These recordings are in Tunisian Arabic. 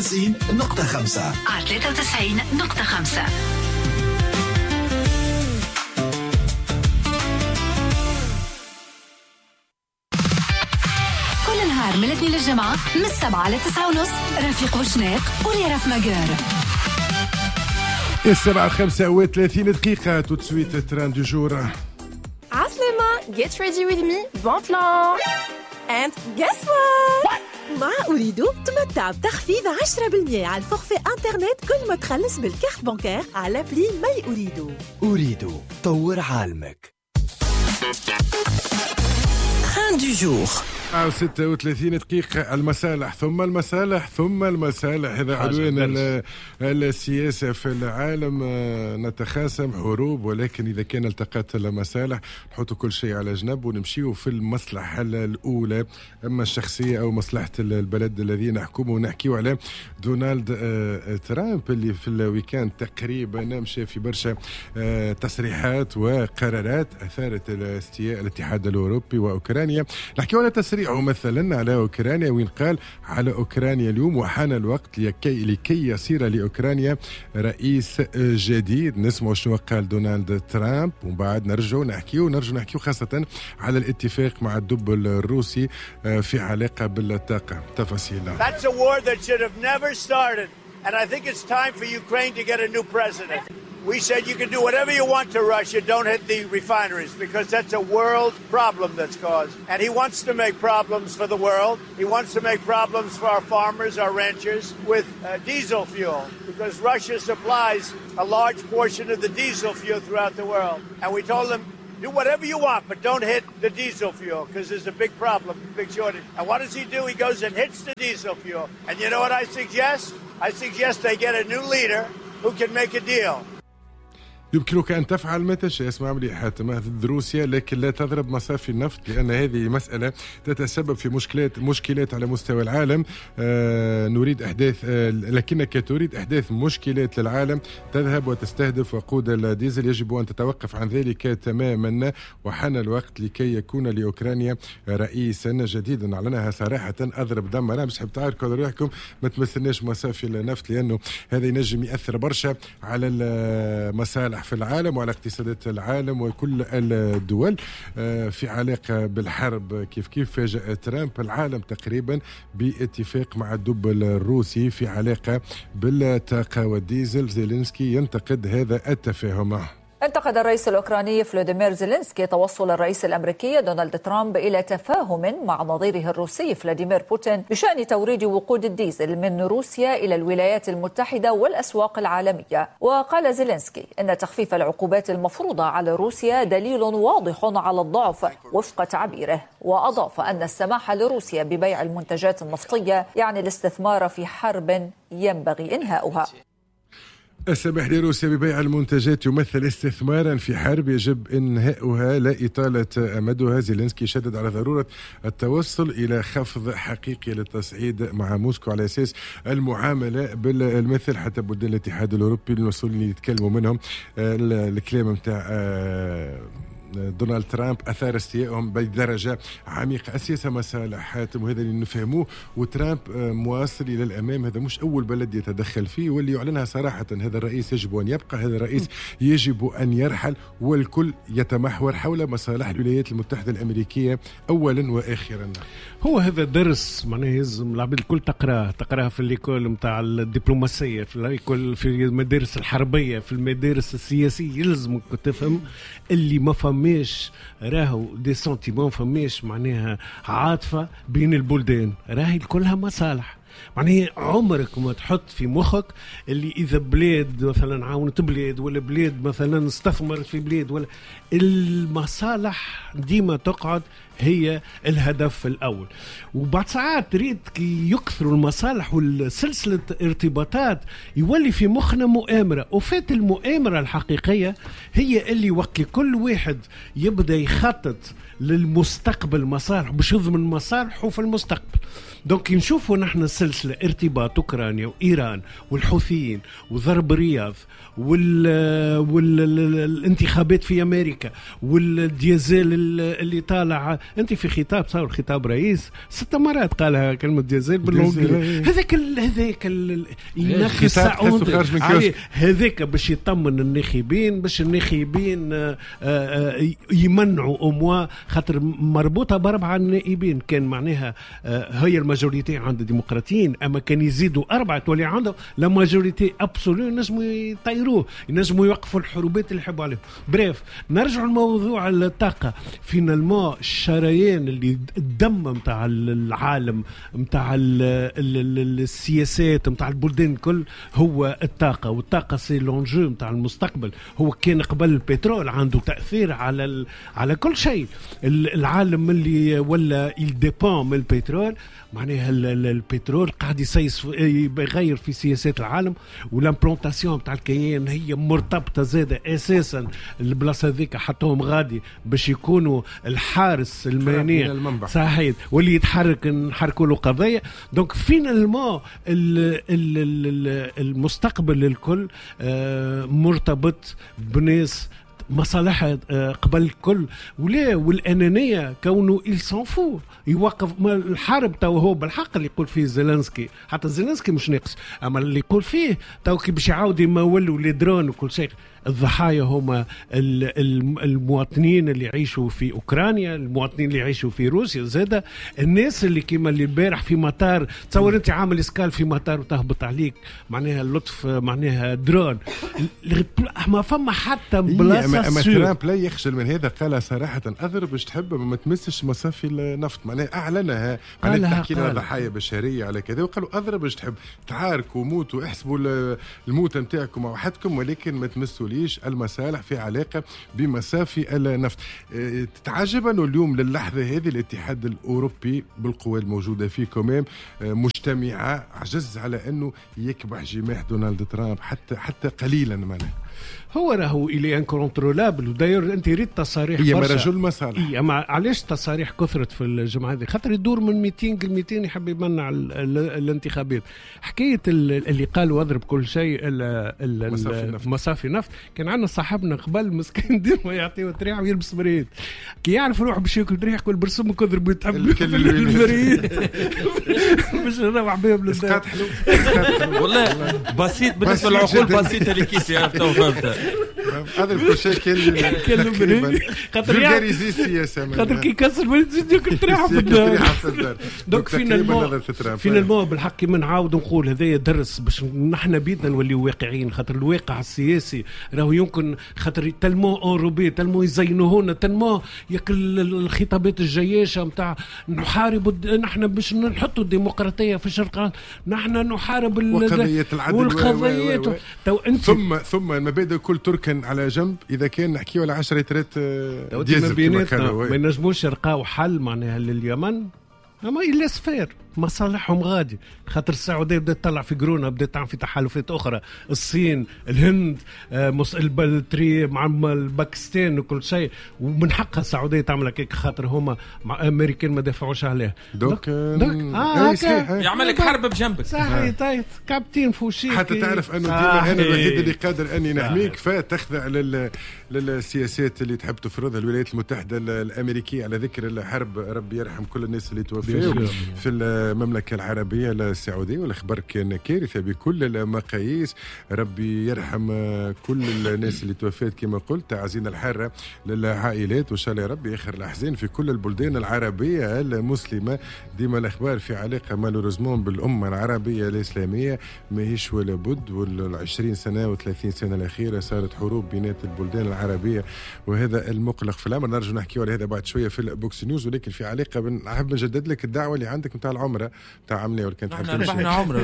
93.5 على 93.5. كل نهار من الاثنين للجمعة من 7 ل 9:30 رفيق وشناق ولي ماجر. 7:35 tout de suite train du jour. عسلامة، get ready with me, bon plan. And guess what? مع أوريدو تمتع بتخفيض 10% على ال forfait internet كل ما تخلص بال carte bancaire على appli My Ooredoo. أوريدو، طور عالمك. Train du jour. 36 دقيقة. المصالح ثم المصالح ثم المصالح، هذا عنوان السياسة في العالم. نتخاصم حروب، ولكن إذا كان التقت المصالح نحط كل شيء على جنب ونمشيو في المصلحة الأولى، أما الشخصية أو مصلحة البلد الذي نحكمه. ونحكيو على دونالد ترامب اللي في ال week-end تقريبا مشى في برشا تصريحات وقرارات أثارت استياء الاتحاد الأوروبي وأوكرانيا. نحكيو على تصريح مثلا على أوكرانيا، وين قال على أوكرانيا اليوم وحان الوقت لكي يصير لأوكرانيا رئيس جديد. نسمع شنو قال دونالد ترامب ومن بعد نرجع نحكيو خاصة على الاتفاق مع الدب الروسي في علاقة بالطاقة. تفاصيل. That's a war that should have never started, and I think it's time for Ukraine to get a new president. We said you can do whatever you want to Russia, don't hit the refineries, because that's a world problem that's caused. And he wants to make problems for the world. He wants to make problems for our farmers, our ranchers, with diesel fuel, because Russia supplies a large portion of the diesel fuel throughout the world. And we told him, do whatever you want, but don't hit the diesel fuel, because there's a big problem, big shortage. And what does he do? He goes and hits the diesel fuel. And you know what I suggest? I suggest they get a new leader who can make a deal. يمكنك أن تفعل ما تشاء، اسمع مليح حاتم، ضد روسيا، لكن لا تضرب مصافي النفط، لأن هذه مسألة تتسبب في مشكلات على مستوى العالم. نريد أحداث، لكنك تريد أحداث مشكلات للعالم، تذهب وتستهدف وقود الديزل. يجب أن تتوقف عن ذلك تماما، وحان الوقت لكي يكون لأوكرانيا رئيسا جديدا. أعلنها صراحة، أضرب دم. أنا مش حاب تعاركوا على روحكم، ما تمثلناش مصافي النفط، لأنه هذا ينجم يأثر برشا على المصالح في العالم وعلى اقتصادات العالم وكل الدول. في علاقة بالحرب كيف كيف فاجأ ترامب العالم تقريبا باتفاق مع الدب الروسي في علاقة بالطاقة والديزل. زيلينسكي ينتقد هذا التفاهم. انتقد الرئيس الأوكراني فلاديمير زيلينسكي توصل الرئيس الأمريكي دونالد ترامب إلى تفاهم مع نظيره الروسي فلاديمير بوتين بشأن توريد وقود الديزل من روسيا إلى الولايات المتحدة والأسواق العالمية. وقال زيلينسكي إن تخفيف العقوبات المفروضة على روسيا دليل واضح على الضعف وفق تعبيره، وأضاف أن السماح لروسيا ببيع المنتجات النفطية يعني الاستثمار في حرب ينبغي إنهاؤها. السماح لروسيا ببيع المنتجات يمثل استثمارا في حرب يجب إنهاؤها لا إطالة أمدها. زيلينسكي شدد على ضرورة التوصل إلى خفض حقيقي للتصعيد مع موسكو على أساس المعاملة بالمثل، حتى بلدان الاتحاد الأوروبي المسؤولين يتكلموا منهم. الكلام متاع دونالد ترامب أثار استيائهم بدرجة عميقة. السياسة مصالح حاتم، وهذا اللي نفهموه، وترامب مواصل إلى الأمام. هذا مش أول بلد يتدخل فيه، واللي يعلنها صراحة هذا الرئيس يجب أن يبقى، هذا الرئيس يجب أن يرحل، والكل يتمحور حول مصالح الولايات المتحدة الأمريكية أولا وآخرا. هو هذا درس معناه يلزم العباد الكل تقراه في l'école نتاع الدبلوماسية، في l'école، في المدارس الحربية، في المدارس السياسية. يلزمك تفهم اللي ما فماش راهو des sentiments، فماش معناها عاطفة بين البلدان، راهي كلها مصالح. معناها عمرك ما تحط في مخك اللي إذا بلاد مثلا عاونت بلاد، ولا بلاد مثلا استثمرت في بلاد، ولا المصالح ديما تقعد هي الهدف الأول. وبعد ساعات تريد كي يكثروا المصالح والسلسلة ارتباطات يولي في مخنا مؤامرة، وفات المؤامرة الحقيقية هي اللي وقت كل واحد يبدأ يخطط للمستقبل مصالح باش يضمن مصالحه في المستقبل. donc نشوفوا نحن سلسلة ارتباط أوكرانيا وإيران والحوثيين وضرب الرياض والانتخابات في أمريكا والديزل اللي طالع انت في خطاب صار خطاب رئيس 6 مرات قالها كلمة ديزل بال anglais. هذاك ينخي هذاك باش يطمن الناخبين، باش الناخبين يمنعوا au moins، خاطر مربوطة ب4 نائبين كان معناها هي ال majorité عند الديمقراطيين، اما كان يزيدوا 4 تولي عندهم la majorité absolue، ينجموا يطيروه، ينجموا يوقفوا الحروبات اللي يحبوا عليهم. bref نرجع لموضوع الطاقة. finalement الشريان اللي الدم نتاع العالم نتاع السياسات نتاع البلدان الكل هو الطاقة، والطاقة c'est l'enjeu نتاع المستقبل. هو كان قبل البترول عنده تاثير على كل شيء. العالم اللي ولا il dépend من البترول، معناها البترول قاعد يسيس يغير في سياسات العالم، وال implantation تاع الكيان هي مرتبطة زاده اساسا البلاصة هذيك حطوهم غادي باش يكونوا الحارس المانع صحيح، واللي يتحرك نحركوا له قضية. donc finalement المستقبل الكل مرتبط بناس مصالحها قبل الكل، ولا والأنانية كونه il s'en fout يوقف الحرب. تو هو بالحق اللي يقول فيه زيلنسكي، حتى زيلنسكي مش ناقص، أما اللي يقول فيه تو كي باش يعاود يمولوا les drones وكل شيء، الضحايا هما المواطنين اللي يعيشوا في أوكرانيا، المواطنين اللي يعيشوا في روسيا، زادة الناس اللي كيما اللي البارح في مطار، تصور انت عامل escale في مطار وتهبط عليك معناها اللطف معناها درون، ما فما حتى بلاصة. أما ترامب لا يخجل من هذا، قال صراحة أضرب باش تحب ما تمسش مصافي النفط، معناها أعلنها، معناها تحكي لنا ضحايا بشرية على كذا، وقالوا أضرب باش تحب، تعاركوا موتوا احسبوا الموتى نتاعكم وحدكم، ولكن ما تمسوا ليش المصالح في علاقة بمصافي النفط. تتعجب أنه اليوم للحظة هذه الاتحاد الأوروبي بالقوى الموجودة فيه quand même مجتمعة عجز على أنه يكبح جماح دونالد ترامب حتى قليلا. معناها هو راهو il est incontrôlable. و d'ailleurs انت ريت تصاريح هي رجل مصالح. اما علاش تصاريح كثرت في الجمعة هذه؟ خاطر يدور من meeting ل meeting، يحب يمنع الانتخابات. حكاية اللي قالوا اضرب كل شيء مصافي نفط، كان عندنا صاحبنا قبل مسكين ديما يعطيه تريح ويلبس مريض، كي يعرف روحه باش ياكل تريح يقول برسم كذر يتعب المريض باش نروح بهم للدار. والله بسيط بالنسبة للعقول، بسيطة اللي كيف عرفتها وفهمتها. هذا الشيء كان خاطر كي يكسر ما تزيد ياكل تريحه في الدار. donc finalement بالحق كيما نعاود نقول هذايا درس باش نحن بيدنا نوليو واقعيين، خاطر الواقع السياسي راهو يمكن خاطر tellement enrobé، tellement يزينوهونا، tellement ياكل الخطابات الجياشه نتاع نحارب نحن باش نحطوا الديمقراطية في الشرق، نحن نحارب وقضية العدل والقضيات. ثم المبادئ كل تركن على جنب. اذا كان نحكيو على 10 لترات ديزل ما ينجموش يلقاو حل معناها لليمن، اما ils laissent faire مصالحهم غادي، خاطر السعودية بدات تطلع في قرونها، بدات تعمل في تحالفات اخرى، الصين، الهند، التري مع الباكستان وكل شيء، ومن حقها السعودية تعمل هكاك خاطر هما مع امريكان ما دافعوش عليها. donc يعمل لك حرب بجنبك. صحيح. طيب كابتن فوشي حتى تعرف انه ديما انا الوحيد اللي قادر اني نحميك، فتخضع للسياسات اللي تحب تفرضها الولايات المتحدة الامريكية. على ذكر الحرب، ربي يرحم كل الناس اللي توفوا في المملكة العربية السعودية، والأخبار كان كارثة بكل المقاييس. ربي يرحم كل الناس اللي توفات كما قلت، تعزينا الحارة للعائلات، وإن شاء الله ربي آخر الأحزان في كل البلدان العربية المسلمة. ديما الأخبار في علاقة malheureusement بالأمة العربية الإسلامية ماهيش ولا بد، وال20 سنة و30 سنة الأخيرة صارت حروب بينات البلدان العربية، وهذا المقلق في الأمر. نرجو نحكي على هذا بعد شوية في ال box news، ولكن في علاقة نحب نجدد لك الدعوة اللي عندك نتاع العمرة تاع عمنا، ولا كانت تحب تمشي عمره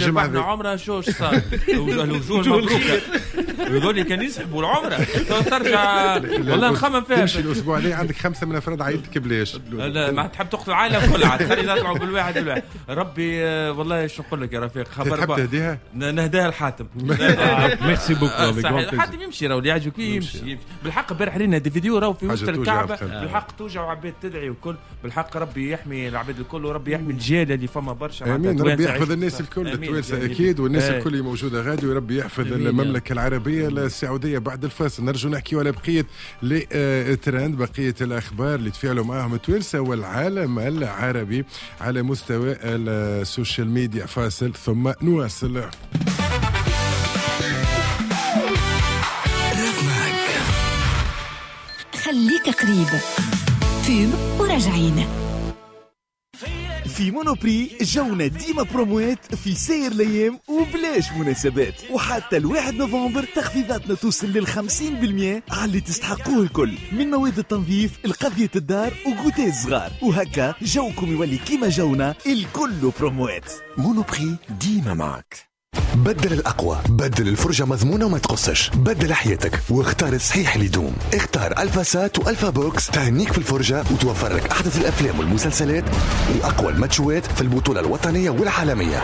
ربحنا عمره. شو صار الوجوه المبروكه يقول لي كان يسحبوا العمرة ترجع، والله نخمم فيها. تمشي الاسبوع اللي عندك 5 من افراد عائلتك بلاش، لا ما تحب تقتل العائلة كلها، خلي نطلعوا بالواحد بالواحد. ربي والله شو نقول لك يا رفيق، خبر تحب تهديها؟ نهديها الحاتم. merci beaucoup. الحاتم يمشي راهو اللي يعجبك يمشي بالحق. البارح رينا des vidéos راهو في وسط الكعبة، بالحق توجع وعباد تدعي وكل، بالحق ربي يحمي العباد الكل، وربي يحمي الجيل اللي فما برشا. امين، ربي يحفظ الناس الكل التوانسة اكيد، والناس الكل اللي موجودة غادي، وربي يحفظ المملكة العربية العربية السعودية. بعد الفاصل نرجو نحكي على بقية les trends، بقية الأخبار اللي تفاعلوا معهم التوانسة والعالم العربي على مستوى ال social media. فاصل ثم نواصل. خليك قريب pub وراجعين. في Monoprix جونا ديما بروموات في سير الايام وبلاش مناسبات، وحتى 1 نوفمبر تخفيضاتنا توصل لل50% على اللي تستحقوه الكل، من مواد التنظيف لقضية الدار و goûter الصغار، وهكا جوكم يولي كيما جونا الكل بروموات. Monoprix ديما معك. بدل الأقوى، بدل الفرجة مضمونة وما تقصش، بدل حياتك واختار الصحيح اللي يدوم. اختار ألفا سات وألفا بوكس، تهنيك في الفرجة وتوفر لك أحدث الأفلام والمسلسلات وأقوى الماتشوات في البطولة الوطنية والعالمية.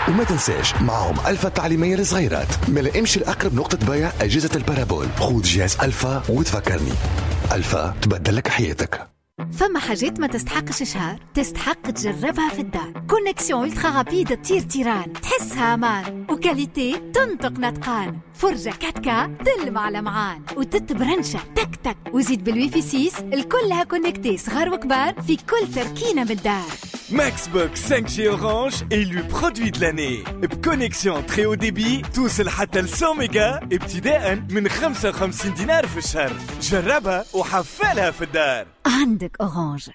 وما تنساش معهم ألفا التعليمية للصغيرات. ما امشي لأقرب نقطة بيع أجهزة ال parabole، خذ جهاز ألفا وتفكرني. ألفا تبدل لك حياتك. فما حاجات ما تستحقش شهر، تستحق تجربها في الدار. connexion ultra rapide تطير تيران، تحسها امان، و qualité تنطق نطقان، فرجة 4K تلمع لمعان، وتتبرنشة تك تك، وزيد بالويفي 6 الكلها connectée، صغار وكبار في كل تركينة بالدار. Maxbox 5G Orange élu produit de l'année ب connexion très haut débit توصل حتى ل 100 ميجا ابتداء من 55 دينار في الشهر. جربها وحفلها في الدار. عندك Orange.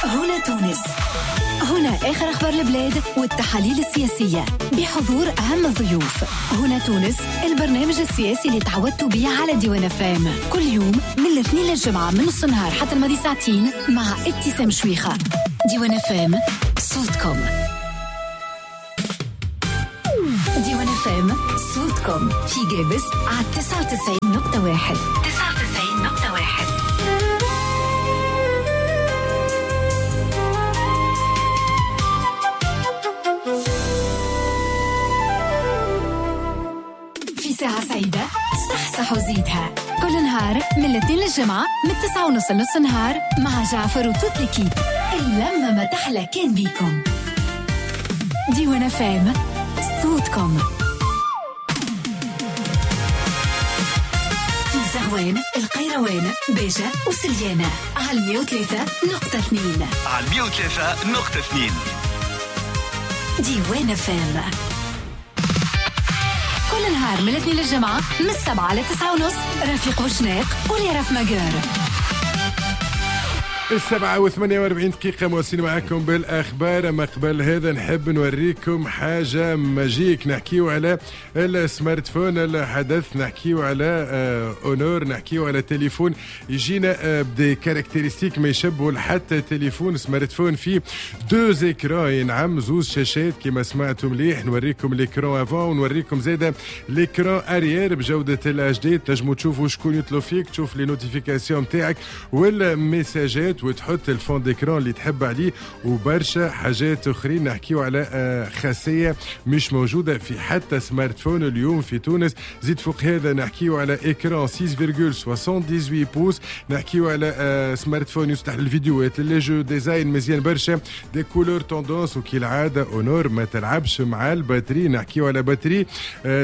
هنا تونس، هنا آخر أخبار البلاد والتحاليل السياسية بحضور أهم الضيوف. هنا تونس، البرنامج السياسي اللي تعودتوا به على ديوان FM، كل يوم من الاثنين للجمعة من نص النهار حتى الماضي ساعتين مع ابتسام شويخة. ديوان FM، صوتكم. ديوان FM، صوتكم في جابس على 99.1. 99.1. ساعة سعيدة صح صح وزيدها، كل نهار من الاثنين للجمعة من 9:30 لنص النهار مع جعفر و toute l'équipe. اللمة ما تحلى كان بيكم. ديوان FM، صوتكم. في زغوان، القيروان، باجة وسليانة على 103.2. على 103.2 ديوان FM. كل نهار من الاثنين للجمعة من 7 ل 9:30 رفيق وشناق وليرف ماجور. 7:48 مواصلين معكم بالأخبار. ما قبل هذا نحب نوريكم حاجة magique. نحكيو على ال smartphone الحدث، نحكيو على Honor، نحكيو على تليفون يجينا ب des caractéristiques ما يشبهوا حتى تليفون smartphone فيه deux écrans، نعم زوز شاشات كما سمعتوا مليح. نوريكم l'écran avant ونوريكم زاده l'écran arrière بجودة ال HD، تنجموا تشوفوا شكون يطلب فيك، تشوف les notifications نتاعك والميساجات، وتحط ال fond d'écran اللي تحب عليه وبرشا حاجات اخرين. نحكيو على خاصية مش موجودة في حتى smartphone اليوم في تونس. زيد فوق هذا نحكيو على écran 6.78 pouces، نحكيو على smartphone يصلح للفيديوهات، les jeux، design مزيان برشا، des couleurs tendance، وكالعادة Honor ما تلعبش مع ال batterie. نحكيو على batterie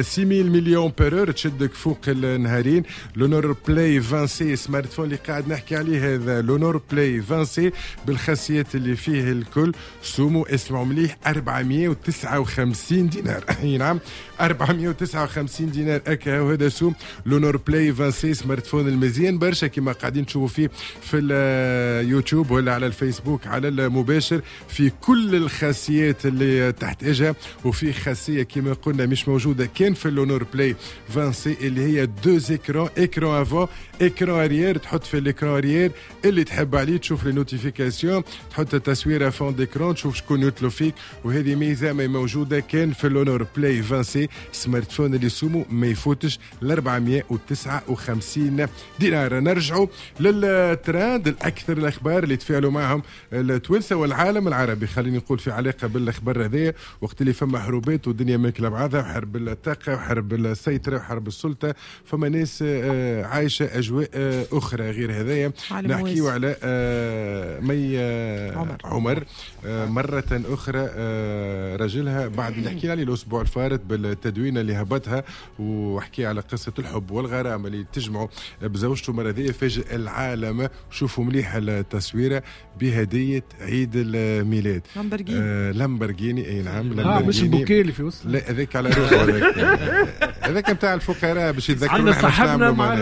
6000 milliampère-heure تشدك فوق النهارين. l'Honor Play 20C smartphone اللي قاعد نحكي عليه هذا l'Honor Play 20C بالخاصيات اللي فيه الكل، سومو اسمعوا مليح 459 دينار. اي نعم 459 دينار اكا، وهذا سوم l'Honor Play 20C smartphone المزيان برشا كما قاعدين تشوفوا فيه في اليوتيوب ولا على الفيسبوك على المباشر، في كل الخاصيات اللي تحتاجها. وفي خاصية كما قلنا مش موجودة كان في l'Honor Play 20C اللي هي deux écrans، écran avant écran arrière، تحط في l'écran arrière اللي تحب عليه، تشوف les notifications، تحط تصويره fond d'écran، تشوف شكون يطلب فيك. وهذه ميزة ما موجودة كان في l'Honor Play 20C smartphone اللي سومو ما يفوتش ل 459 دينار. نرجعوا للترند، الاكثر الاخبار اللي تفاعلوا معهم التوانسة والعالم العربي، خليني نقول في علاقة بالاخبار هذايا وقت اللي فما حروبات والدنيا ماكله بعضها، وحرب الطاقة وحرب السيطرة وحرب السلطة، فما ناس عايشه اجواء اخرى غير هذايا. نحكيو على مي عمر مرة أخرى رجلها بعد اللي حكينا عليه الأسبوع الفارط بالتدوين اللي هبطها وحكي على قصة الحب والغرام اللي تجمعوا بزوجته مرة ذي، فاجئ العالم. شوفوا مليح التصويرة بهدية عيد الميلاد، لامبرجيني. لامبرجيني، اي نعم، لامبرجيني. مش البوكيه اللي في وسط، لا هذاك على روحه، هذاك نتاع الفقراء باش يتذكروا. عندنا صاحبنا مع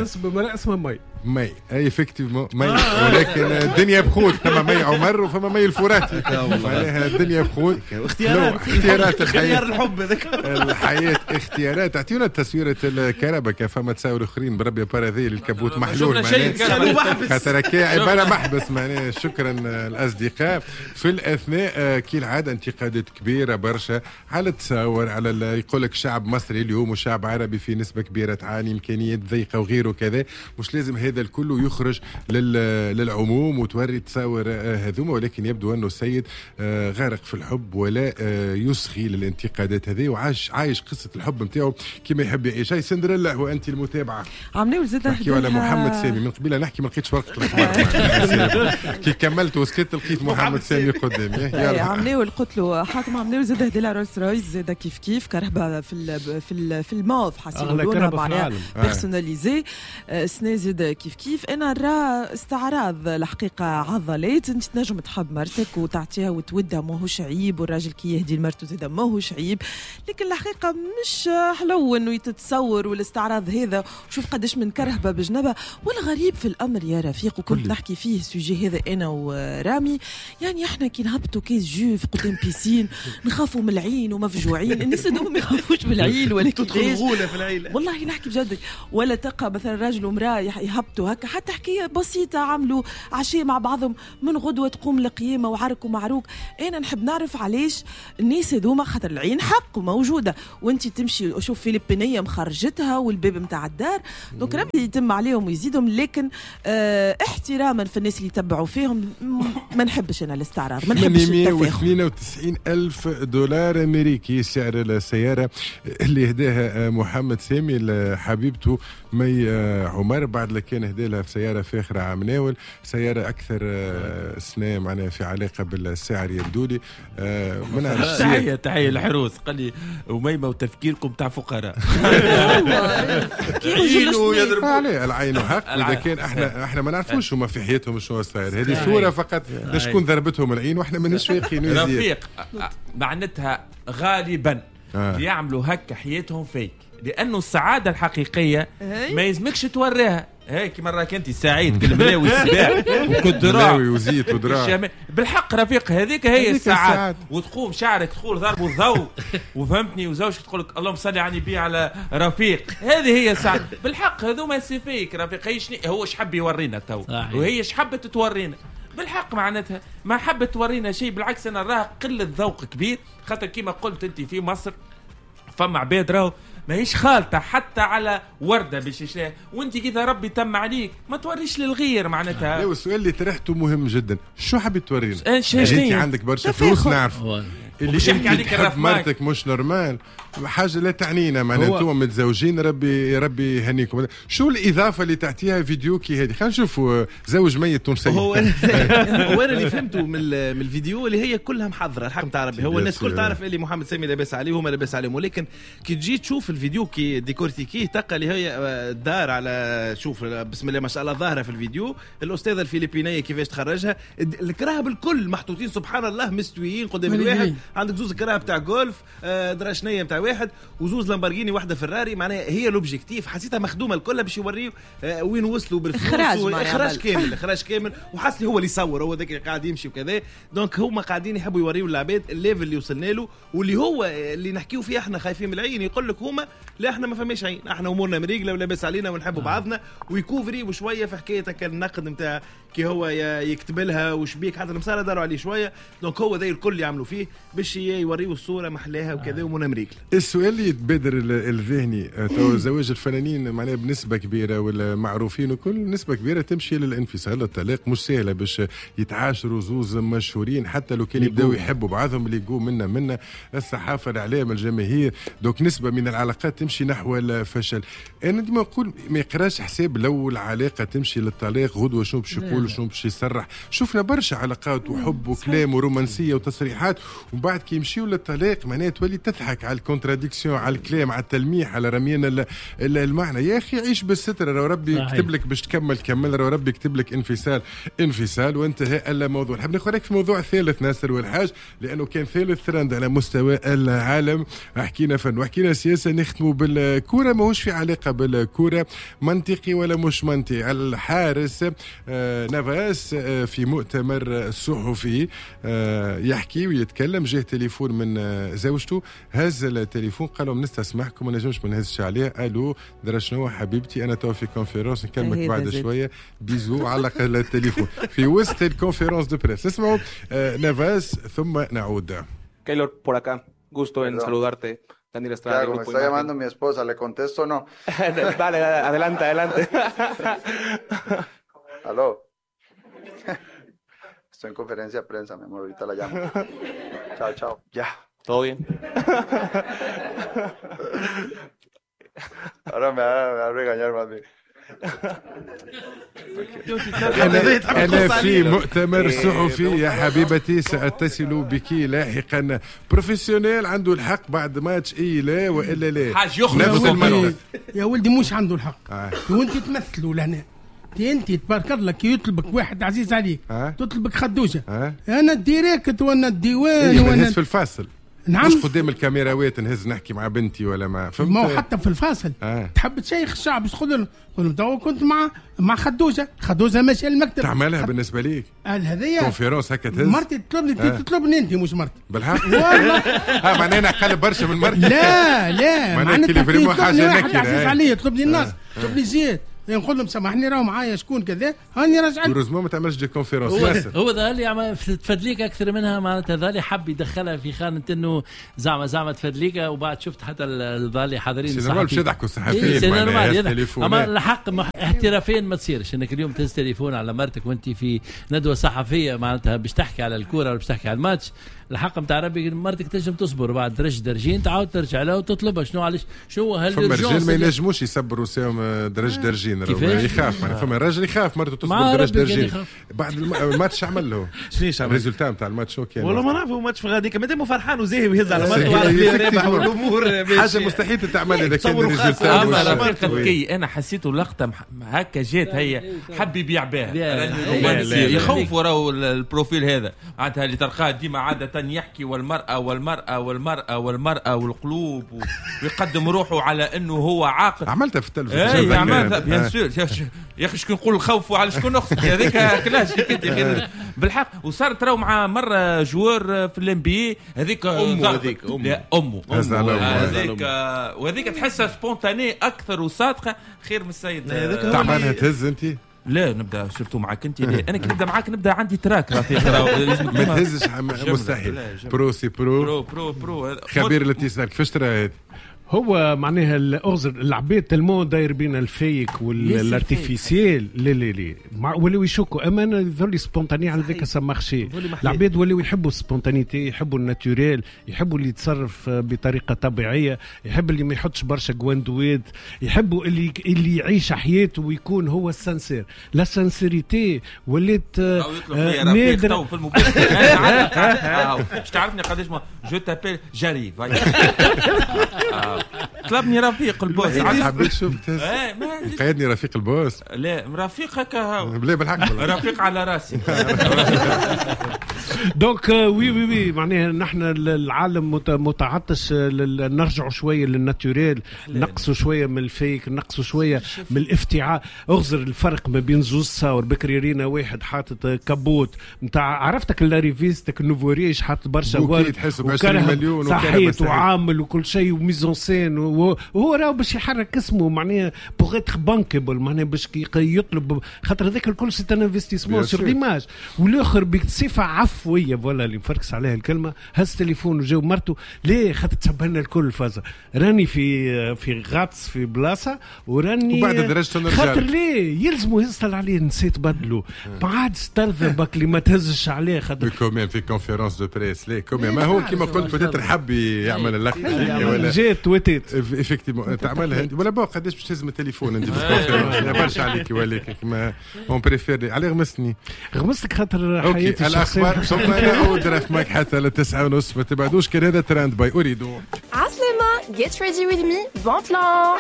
اسمه مي اي effectivement مي، ولكن الدنيا بخوت، فما مي عمر وفما مي الفراتي، معناها الدنيا بخوت. اختيارات الحياة، الحب هذاك الحياة اختيارات. اعطيونا تصويرة الكربة فما تساور اخرين بربي باراذي ال capot محلول، خاطر عبارة محبس معناها. شكرا الاصدقاء. في الاثناء كالعادة انتقادات كبيرة برشا على التصاور، على يقول لك شعب مصري اليوم وشعب عربي في نسبة كبيرة تعاني امكانيات ضيقة وغيره كذا، مش لازم هذا الكل يخرج للعموم وتوري تصاور هذوما. ولكن يبدو أنه السيد غارق في الحب ولا يصغي للانتقادات هذه، وعايش عايش قصة الحب نتاعو كما يحب يعيش. هاي سندريلا وأنت المتابعة. عملوا زاد نحكيو على محمد سامي من قبيلة، نحكي ما لقيتش ورقة الأخبار كي كملت وسكت لقيت محمد سامي قدامي. عملوا قلت حاتم عملوا زاد هدي لها رولز رويس زاد كيف كيف كرهبة في الموف حاسين معناها personnalisée سنة زاد كيف كيف. انا نرى استعراض الحقيقة عضلات، انت تنجم تحب مرتك وتعطيها وتودها ماهوش عيب، والراجل كي يهدي لمرته زاد ماهوش عيب، لكن الحقيقة مش حلو انه يتتصور والاستعراض هذا. شوف قداش من كرهبه بجنبها. والغريب في الامر يا رفيق، وكنت نحكي فيه ال sujet هذا انا ورامي، يعني احنا كي نهبطوا كيس jus قدام piscine نخافوا من العين ومفجوعين، الناس هذوما ما يخافوش من العين ولا تدخل غوله في العيلة. والله نحكي بجد، ولا تلقى مثلا راجل ومراة يهبطوا هكا، حتى حكاية بسيطة عملوا عشاء مع بعضهم من غدوه تقوم القيامة وعرك ومعروك. انا نحب نعرف علاش الناس هذوما، خاطر العين حق وموجودة، وانت تمشي شوف فيلبينيه مخرجتها والباب نتاع الدار، donc ربي يتم عليهم ويزيدهم. لكن احتراما في الناس اللي يتبعوا فيهم، ما نحبش انا الاستعراض، ما نحبش التفاخر. 892 ألف دولار أمريكي سعر السيارة اللي هداها محمد سامي لحبيبته مي عمر، بعد لكان هدالها في سيارة فاخرة عام ناول، سيارة أكثر سنة معناها في علاقة بالسعر يبدو لي. ما نعرفش. تحية الحروس، قال لي أميمة وتفكيركم تاع فقراء. عليه العين حق. إذا كان احنا ما نعرفوش هما في حياتهم شنو صاير، هذه صورة فقط شكون ضربتهم العين واحنا ماناش فايقين. رفيق معناتها غالبا يعملوا هكا حياتهم فيك، لأنه السعادة الحقيقية ما يلزمكش توريها. هيك مرة كنت سعيد كالملاوي السباع وكدراع وزيت ودراع بالحق رفيق، هذيك هي السعادة. وتقوم شعرك تقول ضرب الضوء وفهمتني، وزوجك تقول لك اللهم صل على النبي على رفيق، هذه هي السعادة بالحق. هذوما c'est fake رفيق، هي هو اش حب يورينا تو، وهي اش حبت تورينا بالحق، معناتها ما حبت تورينا شيء. بالعكس انا نراها قلة ذوق كبير، خاطر كيما قلت انت في مصر فما عباد راهو ماهيش خالطة حتى على وردة باش يشريها، وانت كذا ربي تم عليك ما توريش للغير معناتها. لا، والسؤال اللي طرحته مهم جدا، شو حبيت تورينا؟ انت عندك برشا فلوس نعرف اللي انت تحب مرتك مش normal، حاجة لا تعنينا معناها، انتم متزوجين ربي يهنيكم. شو الاضافة اللي تعطيها فيديو كي هذه؟ خلينا نشوفوا زوج ميت تونسي. هو انا اللي فهمته من الفيديو اللي هي كلها محضرة الحق نتاع ربي، هو الناس كل تعرف اللي محمد سامي لاباس عليه وهما لاباس عليهم، ولكن كي تجي تشوف الفيديو كي décortiquer تلقى اللي هي الدار على شوف بسم الله ما شاء الله ظاهره في الفيديو، الاستاذة الفلبينيه كيفاش تخرجها، الكراهب الكل محطوطين سبحان الله مستويين قدام الواحد، عندك زوز كراهب تاع جولف دراشنيه تاع واحد وزوز لامبورغيني واحدة فراري، معناها هي l'objectif حسيتها مخدومة الكل باش يوريو وين وصلوا بالفلوس، اخراج كامل، اخراج كامل، وحس لي هو اللي يصور هو ذاك اللي قاعد يمشي وكذا. donc هما قاعدين يحبوا يوريو العباد ال level اللي وصلنا له، واللي هو اللي نحكيو فيه احنا خايفين من العين، يقول لك هما لا احنا ما فماش عين، احنا امورنا مريقله ولاباس علينا ونحبوا بعضنا، ويكوفري وشوية في حكاية النقد نتاع كي هو يكتب لها وشبيك حتى المساره داروا عليه شوية. donc هو ذا الكل يعملوا فيه باش باش يوريو الصورة محلاها وكذا ومن امريكا. السؤال اللي يتبادر الذهني تو زواج الفنانين معناها بنسبة كبيرة ولا معروفين وكل نسبه كبيرة تمشي للانفصال الطلاق، مش سهلة باش يتعاشروا زوز مشهورين حتى لو كان يبداو يحبوا بعضهم اللي يقوا منا الصحافة الاعلام الجماهير، donc نسبه من العلاقات تمشي نحو الفشل. انا ديما نقول ما يقراش حساب لو العلاقة تمشي للطلاق غدوه شنو باش يقول شنو باش يصرح. شفنا برشا علاقات وحب وكلام ورومانسيه وتصريحات ومن بعد كي يمشيو للطلاق معناها تولي تضحك على ال contradiction، على الكلام، على التلميح، على رمينا المعنى. يا اخي عيش بالستر، لو ربي كتب لك باش تكمل كمل، لو ربي كتب لك انفصال انفصال وانتهى الموضوع. نحب ناخذ في موضوع ثالث ناصر والحاج لانه كان ثالث ترند على مستوى العالم. حكينا فن وحكينا سياسة، نختموا بالكورة، ماهوش في علاقة بالكورة، منطقي ولا مش منطقي. الحارس نافاس في مؤتمر صحفي يحكي ويتكلم، جاه تليفون من زوجته، هز التليفون قال لهم نستسمحكم ما نجمش ما نهزش عليه. الو درا شنو حبيبتي انا تو في conférence نكلمك بعد شوية bisous. علق التليفون في وسط ال conférence de presse. اسمعوا نافاس ثم نعود. Keylor por acá, gusto en saludarte. Daniel Estrada. Claro, me está llamando mi esposa, ¿le contesto o no? Dale, adelante, adelante. Aló. Estoy en conferencia de prensa, mi amor, ahorita la llamo. Chao, chao. Ya, todo bien. Ahora me va a regañar más bien. أنا في مؤتمر صحفي يا حبيبتي سأتصل بك لاحقا. professionnel عنده الحق بعد ماتش اي لا وإلا لا حاج يخرج يا ولدي مش عنده الحق. وانت تمثلوا لهنا انت تبارك الله كي يطلبك واحد عزيز عليك تطلبك خدوجة انا direct وانا الديوان وانا في الفاصل. نعم مش قدام الكاميراوات نهز نحكي مع بنتي ولا مع فهمت. ما هو حتى في الفاصل تحب تشيخ الشعب تقول لهم تو كنت مع خدوجة، خدوجة ماشية للمكتب. تعملها بالنسبة ليك هذيا conférence هكا تهز مرتي تطلبني تطلبني انت مش مرتي بالحق والله. معناها انا اقل برشا من مرتي. لا لا معناتها حاجة نكره عزيز عليا تطلبني الناس تطلبني زياد نقول لهم سامحني راهو معايا شكون كذا هاني راجع. heureusement ما تعملش des conférences. هو ظهر لي تفدليك اكثر منها معناتها ظهر لي حب يدخلها في خانه انه زعما تفدليك، وبعد شفت حتى ظهر لي حاضرين الصحفيين باش يضحكوا الصحفيين. اما الحق احترافيا ما تصيرش انك اليوم تهز تليفون على مرتك وانت في ندوه صحفية معناتها باش تحكي على الكورة ولا باش تحكي على الماتش. الحق نتاع ربي مرتك تنجم تصبر بعد درج درجين تعاود ترجع لها وتطلبها. شنو علاش شنو هل فما رجال ما ينجموش يصبروا ساهم درج درجين يخاف معناها فما راجل يخاف مرته تصبر درج درجين بعد الماتش عمل له شنو عمل ال résultat نتاع الماتش شو كان والله ما نعرف. ماتش في غاديك مادام فرحان وزاهي ويهز على مرته وعلى رابح والامور حاجة مستحيل تتعمل اذا كان ال résultat. انا حسيته لقطة هكا جات هي حب يبيع بها يخوفوا راهو ال profil هذا معناتها اللي تلقاه ديما عادة يحكي والمرأة والمرأة والمرأة والمرأة والقلوب ويقدم روحه على انه هو عاقل. عملتها في التلفزيون. اي عملتها bien sûr يا اخي شكون نقول الخوف وعلى شكون نخسر هذيك كلاش انت بالحق. وصارت راهو مع مرة joueur في ال NBA هذيك امه هذيك امه هذيك وهذيك تحسها spontanée اكثر وصادقة خير من السيد. تعملها تهز انت؟ لا نبدا surtout معاك انت. لا انا كي نبدا معاك نبدا عندي trac رفيق ما تهزش مستحيل. pro c'est pro pro pro pro خبير الاتصال كيفاش ترى هذا؟ هو معناها الاغزر العباد tellement داير بين ال fake وال artificiel لا لا لا ولاو يشكوا. اما انا يظهر لي spontané على ذاك ça marchait. العباد ولاو يحبوا ال spontanéité، يحبوا ال naturel، يحبوا اللي يتصرف بطريقة طبيعية، يحب اللي ما يحطش برشا جواندوات، يحبوا اللي يعيش حياته ويكون هو ال sincère. la sincérité ولات نادرة في المباشر. باش تعرفني قداش je t'appelle j'arrive. طلبني رفيق ال boss. حبيت شوف قيدني رفيق ال boss. لا رفيق هكا لا بالحق رفيق على راسي. donc oui oui oui معناها نحن العالم متعطش نرجعوا شوية لل naturel، نقصوا شوية من ال fake، نقصوا شوية من الافتعاء. اغزر الفرق ما بين زوز صور بكري رينا واحد حاطط كابوت نتاع عرفتك l'arriviste nouveau riche حاط برشا ورد تحسب 20 مليون صحيت وعامل وكل شيء و mise en scène وهو راهو باش يحرك اسمه معناها pour être bankable، معناها باش يطلب، خاطر هذاك الكل c'est un investissement sur l'image. والاخر بصفة عفوية voilà اللي مفركس عليها الكلمة، هز تليفون وجاوب مرته ليه؟ خاطر تشبه لنا الكل فازة، راني في غطس في بلاصة وراني وبعد درجه خاطر ليه يلزموا يصل عليه نسيت بدلو ما عادش ترضى بك اللي ما تهزش عليه خاطر quand même في conférence de presse ليه quand même ما هو كيما قلت peut-être حب يعمل اللقطة ولا جات وتيت effectivement تعملها ولا bon قداش باش تهز التليفون انت في ال conférence برشا عليك ولكن ما on préfère عليه. غمسني غمستك خاطر حياتي الاخبار ثم نعود رفمك حتى ل 9:30 ما تبعدوش. كان هذا trend by Ooredoo. عسلامة get ready with me bon plan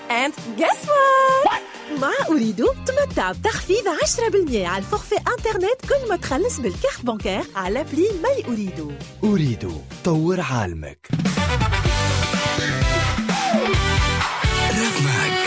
and guess what. مع Ooredoo تمتع بتخفيض 10% على ال forfait internet كل ما تخلص بال carte bancaire على appli My Ooredoo. Ooredoo طور عالمك. رفمك.